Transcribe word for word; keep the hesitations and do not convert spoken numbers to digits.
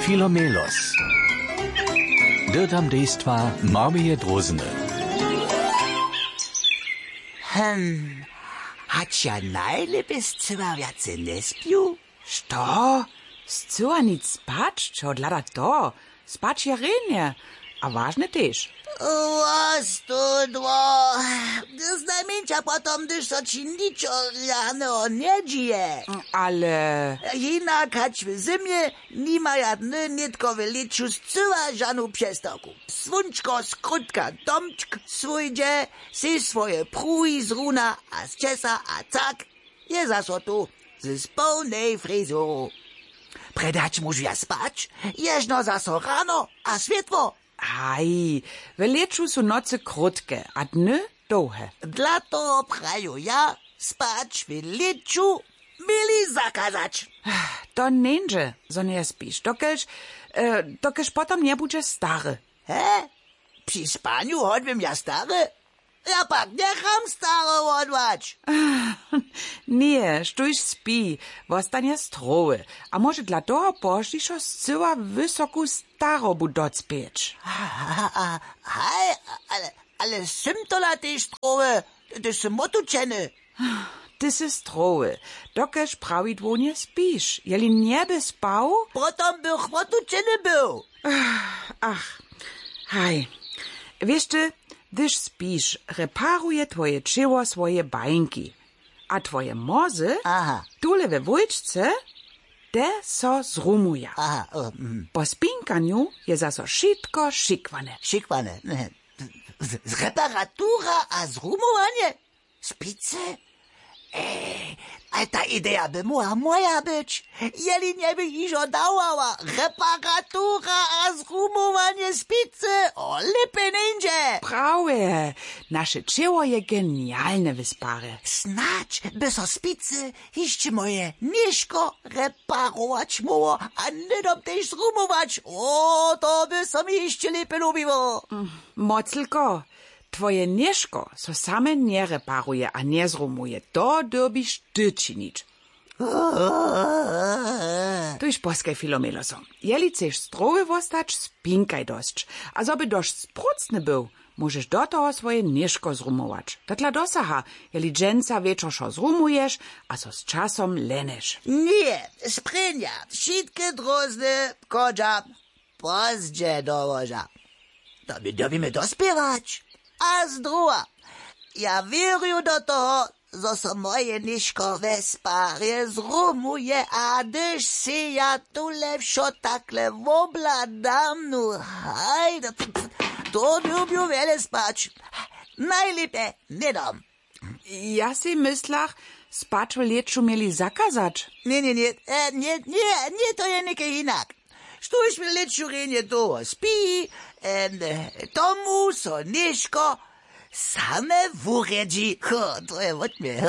Filomelos. Dyrtam dejstwa Marmije Drózny. Hm, hač ja najlěpje scyła wjace njespju? Što? Scyła nic spać? Čehodla da to? Spać je rjenje. A wažne tež. Wostudło. Znajmjeńša potom, hdyž so ći ničo rjaneho njedźije. Ale... Hinak hač w zymje nimaja dny nětko w lěću scyła žanu přestawku. Słónčko skrótka domčk swójdźe, sej swoje pruhi zruna a sćesa a cak, je zaso tu z połnej frizuru. Prjedy hač móžu ja spać, ježno zaso rano a swětło. Haj, w lěću su nocy krótke a dny dołhe. Dla toho praju ja, spać w lěću měli zakazać. To njeńdźe, zo njespiš, dokelž, e, dokelž potom njebudźeš stary. He? Při spanju hodbym ja stary? Ja pak njecham staro wodłać. Ně, štóž spi, wostanje strowy a móže dla toho pozdźišo scyła wysoku starobu docpěć. Haj, ale, ale sym tola tež strowy, hdyž sym wotučeny. Ty sy strowy, dokelž prawidłownje spiš. Jeli njeby spał? Potom bych wotučeny był. Ach, haj. Wěš ty, hdyž spiš, reparuje twoje ćěło swoje bańki. A twoje mozy, aha, tule we wójčce, te so zrumuja. Aha, o, mm. Po spinkanju je zaso wšitko šikłane. Šikłane. Z, z, reparatura a zrumowanje? Spicy? Ej, ale ta ideja by móhła moja być, jeli njebych hižo dawała. Reparatura a zrumowanje spicy, o, lěpje njeńdźe. Prawje, naše ćěło je genialne w sparje. Snadź by so spicy hišće moje něžko reparować móhło a hnydom tež zrumować. O, to by so mi hišće lěpje lubiło. Moclko, twoje něžko so same njereparuje a njezrumuje, to dyrbiš ty činić. Tuž poskaj, Filomeloso. Jeli chceš strowy wostać, spinkaj dosć. A zo by dosć sprócny był, móžeš do toho swoje něžko zrumować. To dla dosaha, jeli dźensa wječor wšo zrumuješ a so z časom leneš. Ně, sprěnja, wšitke drózny, chodźa pozdźe do łoža. To my dyrbimy dospěwać. A zdruha, ja wěrju do toho, zo so moje něžko we sparje zrumuje, a hdyž sej ja tule wšo takle wobhladam, nu haj, to, to dyrbju wjele spać. Najlěpje hnydom. Ja sej myslach, spać w lěću měli zakazać. Ně, ně, ně, e, ně, ně, ně, to je něke hinak. Štóž w lěću rjenje dołho spi, e, tomu so něžko same wurjedźi. Ho, to je wot mje.